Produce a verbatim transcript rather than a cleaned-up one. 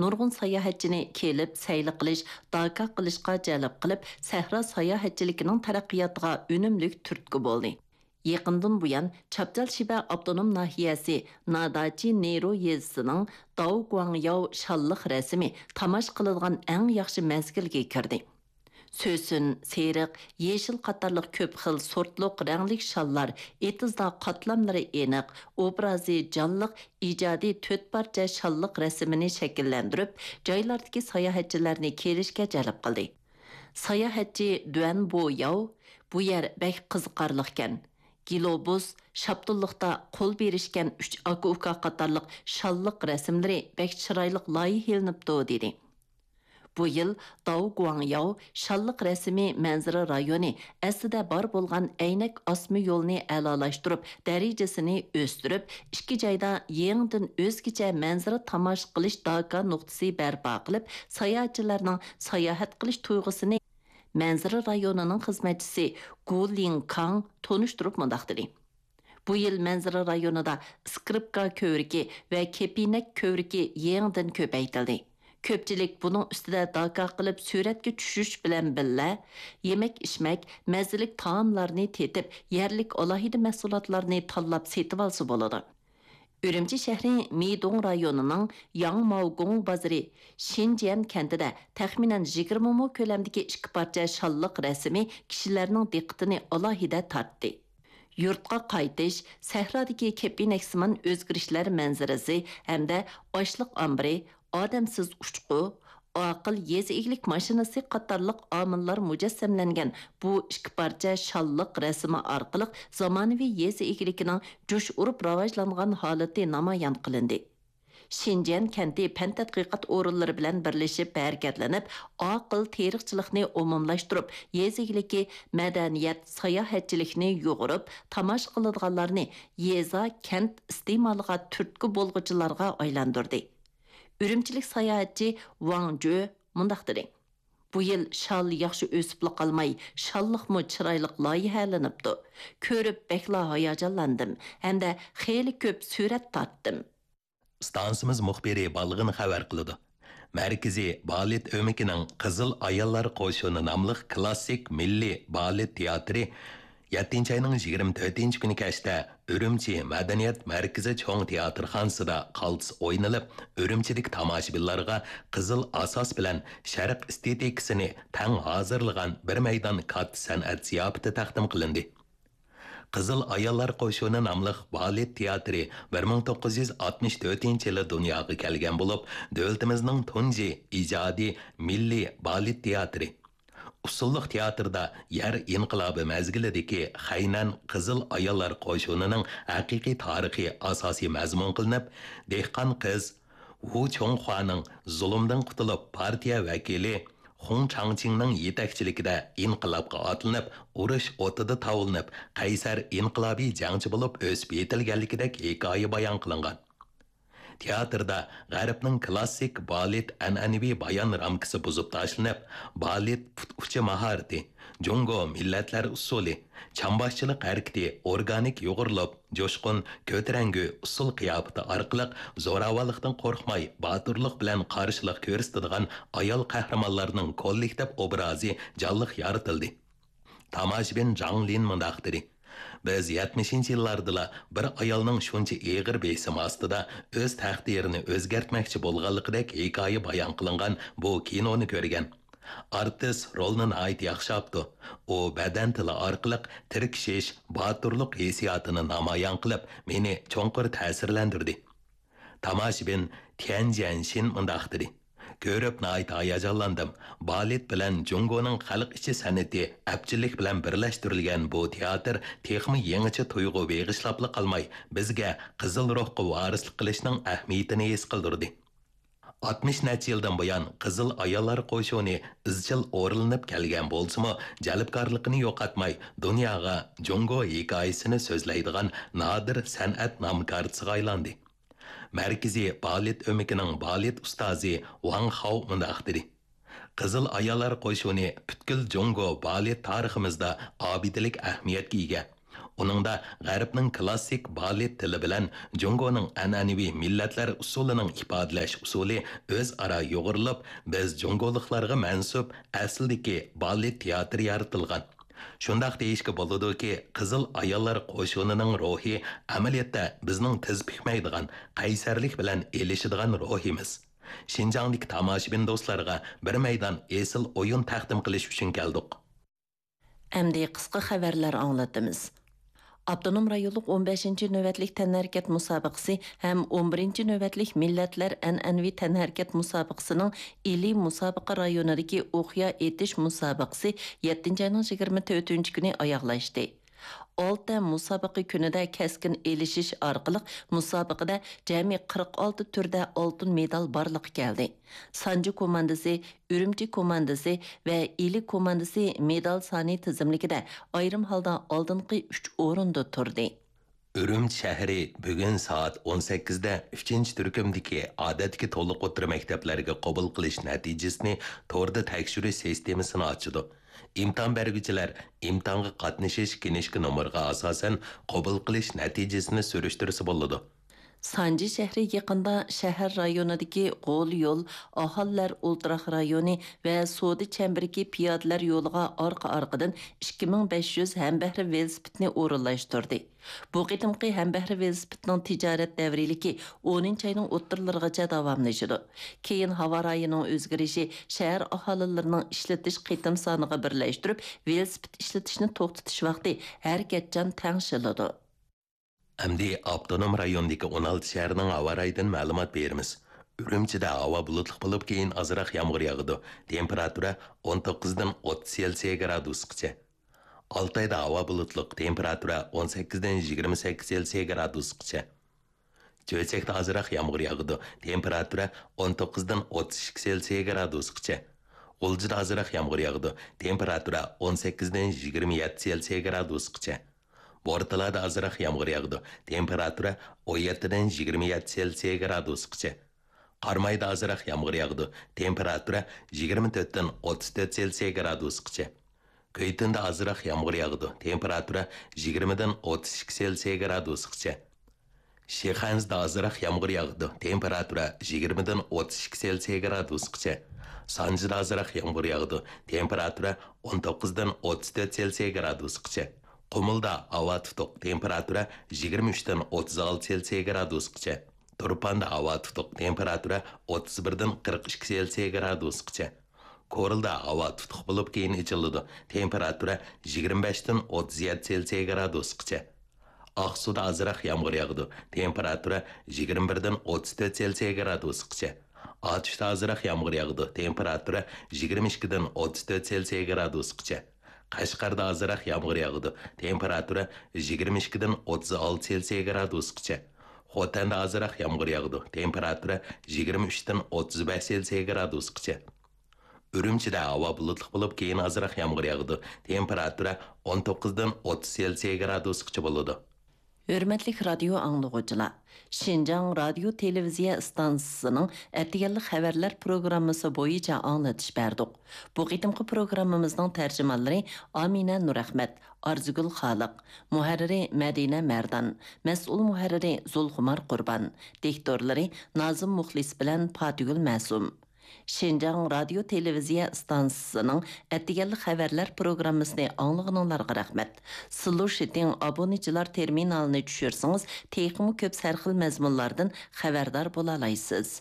نۇرغۇن ساياھەتچىنى كېلىپ سەيلە قىلىش، داكا قىلىشقا جەلپ قىلىپ، سەھرا ساياھەتچىلىكىنىڭ تەرەققىياتىغا ئۈنۈملۈك تۈرتكە بولدى. يېقىندىن بۇيان، چاپچال شىبە ئاپتونوم ناھىيەسى ناداچى نېرۇ يېزىسىنىڭ داۋ گۇاڭياۋ شاللىق رەسىمى تاماشا قىلىدىغان ئەڭ ياخشى مەزگىلگە كىردى. سۆسۈن، سېرىق، يېشىل قاتارلىق كۆپ خىل سورتلۇق رەڭلىك شاللار ئېتىزدا قاتلاملىرى ئېنىق، ئوبرازى جانلىق ئىجادىي تۆت پارچە شاللىق رەسىمىنى شەكىللەندۈرۈپ، جايلاردىكى ساياھەتچىلەرنى كېلىشكە جەلپ قىلدى. ساياھەتچى دۈەن بو ياۋ، «بۇ يەر بەك قىزىقارلىقكەن. گىلوبۇس، شاپتۇللۇقتا قول بېرىشكەن ئۈچ ئاكا-ئۇكا قاتارلىق شاللىق رەسىملىرى بەك چىرايلىق لايىھەلىنىپتۇ» دېدى. بۇ يىل داۋ گۇاڭياۋ شاللىق رەسىمى مەنزىرە رايونى ئەسلىدە بار بولغان ئەينەك ئاسما يولنى ئەلالاشتۇرۇپ، دەرىجىسىنى ئۆستۈرۈپ، ئىككى جايدا يېڭىدىن ئۆزگىچە مەنزىرە تاماشا قىلىش داكا نۇقتىسى بەرپا قىلىپ، ساياھەتچىلەرنىڭ ساياھەت قىلىش تۇيغۇسىنى مەنزىرە رايونىنىڭ خىزمەتچىسى گۇ لىڭكاڭ تونۇشتۇرۇپ مۇنداق دېدى. بۇ يىل مەنزىرە رايونىدا ئىسكرىپكا كۆۋرۈكى ۋە كېپىنەك كۆۋرۈكى يېڭىدىن كۆپەيتىلدى. كۆپچىلىك بۇنىڭ ئۈستىدە داكا قىلىپ سۈرەتكە چۈشۈش بىلەن بىللە، يېمەك-ئىچمەك، مەززىلىك تائاملارنى تېتىپ، يەرلىك ئالاھىدە مەھسۇلاتلارنى تاللاپ سېتىۋالسا بولىدۇ. ئۈرۈمچى شەھىرى مىدۇڭ رايونىنىڭ ياڭماۋگۇڭ بازىرى شىنجيەن كەنتىدە تەخمىنەن يىگىرمە مو كۆلەمدىكى ئىككى پارچە شاللىق رەسىمى كىشىلەرنىڭ دىققىتىنى ئالاھىدە تارتتى. يۇرتقا قايتىش، سەھرادىكى كېپىنەكسىمان ئۆزگىرىشلەر مەنزىرىسى ھەمدە ئاشلىق ئامبىرى، ئادەمسىز ئۇچقۇ، ئاقىل يېزا ئىگىلىك ماشىنىسى قاتارلىق ئامىللار مۇجەسسەملەنگەن بۇ ئىككى پارچە شاللىق رەسىمى ئارقىلىق زامانىۋى يېزا ئىگىلىكىنىڭ جۇش ئۇرۇپ راۋاجلانغان ھالىتى نامايان قىلىندى. شىنجيەن كەنتى پەن تەتقىقات ئورۇنلىرى بىلەن بىرلىشىپ ھەرىكەتلىنىپ، ئاقىل تېرىقچىلىقنى ئومۇملاشتۇرۇپ، يېزا ئىگىلىكى، مەدەنىيەت، ساياھەتچىلىكنى يۇغۇرۇپ، تاماشا قىلىدىغانلارنى يېزا، كەنت ئىستېمالىغا تۈرتكە بولغۇچىلارغا ئايلاندۇردى. ئۈرۈمچىلىك ساياھەتچى ۋاڭ جۆ مۇنداق دېدى: «بۇ يىل شال ياخشى ئۆسۈپلا قالماي، شاللىقمۇ چىرايلىق لايىھەلىنىپتۇ. كۆرۈپ بەكلا ھاياجانلاندىم ھەمدە خېلى كۆپ سۈرەت تارتتىم.» ئىستانسىمىز مۇخبىرى بالغىن خەۋەر قىلىدۇ. مەركىزىي بالېت ئۆمىكىنىڭ قىزىل ئاياللار قوشۇنى ناملىق كلاسسىك مىللىي بالېت تىياتىرى يەتتىنچى ئاينىڭ يىگىرمە تۆتىنچى كۈنى كەچتە ئۈرۈمچى مەدەنىيەت مەركىزى چوڭ تىياتىرخانىسىدا قالتىس ئوينىلىپ، ئۈرۈمچىدىكى تاماشىبىنلارغا قىزىل ئاساس بىلەن شەرق ئېستېتىكىسىنى تەڭ ھازىرلىغان بىر مەيدان كاتتا سەنئەت زىياپىتى تەقدىم قىلىندى. قىزىل ئاياللار قوشۇنى ناملىق بالېت تىياتىرى بىر مىڭ توققۇز يۈز ئاتمىش تۆتىنچى يىلى دۇنياغا كەلگەن بولۇپ، دۆلىتىمىزنىڭ تۇنجى ئىجادىي مىللىي بالېت تىياتىرى. ئۇسسۇللۇق تىياتىردا يەر ئىنقىلابى مەزگىلىدىكى خەينەن قىزىل ئاياللار قوشۇنىنىڭ ھەقىقىي تارىخى ئاساسىي مەزمۇن قىلىنىپ، دېھقان قىز ۋۇ چوڭخۇانىڭ زۇلۇمدىن قۇتۇلۇپ، پارتىيە ۋەكىلى خۇڭ چاڭچىڭنىڭ يېتەكچىلىكىدە ئىنقىلابقا ئاتلىنىپ، ئۇرۇش ئوتىدا تاۋلىنىپ، قەيسەر ئىنقىلابىي جەڭچى بولۇپ ئۆسۈپ يېتىلگەنلىكىدەك ھېكايە بايان قىلىنغان. تىياتىردا غەربنىڭ كلاسسىك بالېت ئەنئەنىۋى بايان رامكىسى بۇزۇپ تاشلىنىپ، بالېت پۇت ئۇچى ماھارىتى، جۇڭگو مىللەتلەر ئۇسسۇلى، چامباشچىلىق ھەرىكىتى ئورگانىك يۇغۇرۇلۇپ، جۇشقۇن، كۆتۈرەڭگۈ ئۇسسۇل قىياپىتى ئارقىلىق زوراۋانلىقتىن قورقماي، باتۇرلۇق بىلەن قارشىلىق كۆرسىتىدىغان ئايال قەھرىمانلارنىڭ كوللېكتىپ ئوبرازى جانلىق يارىتىلدى. تاماشىبىن جاڭ لىن مۇنداق دېدى: «بىز يەتمىشىنچى يىللاردىلا بىر ئايالنىڭ شۇنچە ئېغىر بېسىم ئاستىدا ئۆز تەقدىرىنى ئۆزگەرتمەكچى بولغانلىقىدەك ھېكايە بايان قىلىنغان بۇ كىنونى كۆرگەن. ئارتىس رولنى ناھايىتى ياخشى ئاپتۇ. ئۇ بەدەن تىلى ئارقىلىق تىركىشىش، باتۇرلۇق ھېسسىياتىنى نامايان قىلىپ، مېنى چوڭقۇر تەسىرلەندۈردى.» تاماشىبىن تيەن جيەنشىن مۇنداق دېدى: «كۆرۈپ ناھايىتى ھاياجانلاندىم. بالېت بىلەن جۇڭگونىڭ خەلق ئىچى سەنئىتى ئەپچىللىك بىلەن بىرلەشتۈرۈلگەن بۇ تىياتىر تېخىمۇ يېڭىچە تۇيغۇ بېغىشلاپلا قالماي، بىزگە قىزىل روھقا ۋارىسلىق قىلىشنىڭ ئەھمىيىتىنى ھېس قىلدۇردى.» ئاتمىش نەچچە يىلدىن بۇيان قىزىل ئاياللار قوشۇنى ئىزچىل ئورۇنلىنىپ كەلگەن بولسىمۇ، جەلپكارلىقىنى يوقاتماي، دۇنياغا جۇڭگو ھېكايىسىنى سۆزلەيدىغان نادىر سەنئەت نام كارتىسىغا ئايلاندى. مەركىزىي بالېت ئۆمىكىنىڭ بالېت ئۇستازى ۋاڭ خاۋ مۇنداق دېدى: «قىزىل ئاياللار قوشۇنى پۈتكۈل جۇڭگو بالېت تارىخىمىزدا ئابىدىلىك ئەھمىيەتكە ئىگە. ئۇنىڭدا غەربنىڭ كلاسسىك بالېت تىلى بىلەن جۇڭگونىڭ ئەنئەنىۋى مىللەتلەر ئۇسسۇلىنىڭ ئىپادىلەش ئۇسۇلى ئۆزئارا يۇغۇرۇلۇپ، بىز جۇڭگولۇقلارغا مەنسۇپ ئەسلىدىكى بالېت تىياتىرى يارىتىلغان. شۇنداق دېيىشكە بولىدۇكى، قىزىل ئاياللار قوشۇنىنىڭ روھى ئەمەلىيەتتە بىزنىڭ تىز پۈكمەيدىغان قەيسەرلىك بىلەن ئېلىشىدىغان روھىمىز. شىنجاڭدىكى تاماشىبىن دوستلارغا بىر مەيدان ئېسىل ئويۇن تەقدىم قىلىش ئۈچۈن كەلدۇق. ئەمدى قىسقا خەۋەرلەر ئاڭلىتىمىز. ئاپتونوم رايونلۇق ئون بەشىنچى نۆۋەتلىك تەنھەرىكەت مۇسابىقىسى ھەم ئون بىرىنچى نۆۋەتلىك مىللەتلەر ئەنئەنىۋى تەنھەرىكەت مۇسابىقىسىنىڭ ئىلى مۇسابىقە رايونىدىكى ئوقيا ئېتىش مۇسابىقىسى يەتتىنچى ئاينىڭ يىگىرمە تۆتىنچى كۈنى ئاياغلاشتى. ئالتە مۇسابىقە كۈنىدە كەسكىن ئېلىشىش ئارقىلىق مۇسابىقىدە جەمئىي قىرىق ئالتە تۈردە ئالتۇن مېدال بارلىققا كەلدى. سانجى كوماندىسى، ئۈرۈمچى كوماندىسى ۋە ئىلى كوماندىسى مېدال سانى تىزىملىكىدە ئايرىم ھالدا ئالدىنقى ئۈچ ئورۇندا تۇردى. ئۈرۈمچى شەھىرى بۈگۈن سائەت ئون سەككىزدە ئۈچىنچى تۈركۈمدىكى ئادەتتىكى تولۇق ئوتتۇرا مەكتەپلەرگە قوبۇل قىلىش نەتىجىسىنى توردا تەكشۈرۈش سىستېمىسىنى ئاچىدۇ. ئىمتىھان بەرگۈچىلەر ئىمتىھانغا قاتنىشىش كىنىشكا نومۇرىغا ئاساسەن قوبۇل قىلىش نەتىجىسىنى سۈرۈشتۈرسە بولىدۇ. سانجى شەھىرى يېقىندا شەھەر رايونىدىكى غول يول، ئاھالىلەر ئولتۇراق رايونى ۋە سودا چەمبىرىكى پىيادىلەر يولىغا ئارقا-ئارقىدىن ئىككى مىڭ بەش يۈز ھەمبەھرە ۋېلىسىپىتنى ئورۇنلاشتۇردى. بۇ قېتىمقى ھەمبەھرە ۋېلىسىپىتنىڭ تىجارەت دەۋرىيلىكى ئونىنچى ئاينىڭ ئوتتۇرىلىرىغىچە داۋاملىشىدۇ. كېيىن ھاۋا رايىنىڭ ئۆزگىرىشى شەھەر ئاھالىلىرىنىڭ ئىشلىتىش قېتىم سانىغا بىرلەشتۈرۈپ، ۋېلىسىپىت ئىشلىتىشنى توختىتىش ۋاقتى ھەرىكەتچان تەڭشىلىدۇ. ئەمدى ئاپتونوم رايوندىكى ئون ئالتە شەھەرنىڭ ھاۋا رايىدىن مەلۇمات بېرىمىز. ئۈرۈمچىدە ھاۋا بۇلۇتلۇق بولۇپ، كېيىن ئازراق يامغۇر ياغىدۇ. تېمپېراتۇرا ئون توققۇزدىن ئوتتۇز سېلسىيە گرادۇسقىچە. ئالتايدا ھاۋا بۇلۇتلۇق، تېمپېراتۇرا ئون سەككىزدىن يىگىرمە سەككىز سېلسىيە گرادۇسقىچە. چۆچەكتە ئازراق يامغۇر ياغىدۇ، تېمپېراتۇرا ئون توققۇزدىن ئوتتۇز ئىككى سېلسىيە گرادۇسقىچە. غۇلجىدا ئازراق يامغۇر ياغىدۇ، تېمپېراتۇرا ئون سەككىزدىن يىگىرمە يەتتە سېلسىيە گرادۇسقىچە. بورتالادا ئازراق يامغۇر ياغىدۇ، تېمپېراتۇرا ئون يەتتىدىن يىگىرمە يەتتە سېلسىيە گرادۇسقىچە. قارامايدا ئازراق يامغۇر ياغىدۇ، تېمپېراتۇرا يىگىرمە تۆتتىن ئوتتۇز تۆت سېلسىيە گرادۇسقىچە. كۈيتۈندە ئازراق يامغۇر ياغىدۇ، تېمپېراتۇرا يىگىرمىدىن ئوتتۇز ئىككى سېلسىيە گرادۇسقىچە. شىخەنزىدە ئازراق يامغۇر ياغىدۇ، تېمپېراتۇرا يىگىرمىدىن ئوتتۇز ئىككى سېلسىيە گرادۇسقىچە. سانجىدا ئازراق يامغۇر ياغىدۇ، تېمپېراتۇرا ئون توققۇزدىن ئوتتۇز تۆت سېلسىيە گرادۇسقىچە. قۇمۇلدا ھاۋا تۇتۇق، تېمپېراتۇرا يىگىرمە ئۈچتىن ئوتتۇز ئالتە سېلسىيە گرادۇسقىچە. تۇرپاندا ھاۋا تۇتۇق، تېمپېراتۇرا ئوتتۇز بىردىن قىرىق ئىككى سېلسىيە گرادۇسقىچە. كورلىدا ھاۋا تۇتۇق بولۇپ، كېيىن ئېچىلىدۇ، تېمپېراتۇرا يىگىرمە بەشتىن ئوتتۇز يەتتە سېلسىيە گرادۇسقىچە. ئاقسۇدا ئازراق يامغۇر ياغىدۇ، تېمپېراتۇرا يىگىرمە بىردىن ئوتتۇز تۆت سېلسىيە گرادۇسقىچە. ئاتۇشتا ئازراق يامغۇر ياغىدۇ، تېمپېراتۇرا يىگىرمە ئىككىدىن ئوتتۇز تۆت سېلسىيە گرادۇسقىچە. قەشقەردە ئازراق يامغۇر ياغىدۇ، تېمپېراتۇرا يىگىرمە ئىككىدىن ئوتتۇز ئالتە سېلسىيە گرادۇسقىچە. خوتەندە ئازراق يامغۇر ياغىدۇ، تېمپېراتۇرا يىگىرمە ئۈچتىن ئوتتۇز بەش سېلسىيە گرادۇسقىچە. ئۈرۈمچىدە ھاۋا بۇلۇتلۇق بولۇپ، كېيىن ئازراق يامغۇر ياغىدۇ، تېمپېراتۇرا ئون توققۇزدىن ئوتتۇز سېلسىيە گرادۇسقىچە بولىدۇ. ھۆرمەتلىك رادىيو ئاڭلىغۇچىلار، شىنجاڭ رادىيو تېلېۋىزىيە ئىستانسىسىنىڭ ئەتىگەنلىك خەۋەرلەر پروگراممىسى بويىچە ئاڭلىتىش بەردۇق. بۇ قېتىمقى پروگراممىمىزنىڭ تەرجىمانلىرى ئامىنە نۇرئەخمەت، ئارزۇگۈل خالىق، مۇھەررىرى مەدىنە مەردان، مەسئۇل مۇھەررىرى زۇلخۇمار قۇربان، دىكتورلىرى نازىم مۇخلىس بىلەن پاتىگۈل مەسۇم. شىنجاڭ رادىيو تېلېۋىزىيە ئىستانسىسىنىڭ ئەتىگەنلىك خەۋەرلەر پروگراممىسىنى ئاڭلىغىنىڭلارغا رەھمەت. سىلۇشىتىڭ ئابۇنىچىلار تېرمىنالىنى چۈشۈرسىڭىز، تېخىمۇ كۆپ سەرخىل مەزمۇنلاردىن خەۋەردار بولالايسىز.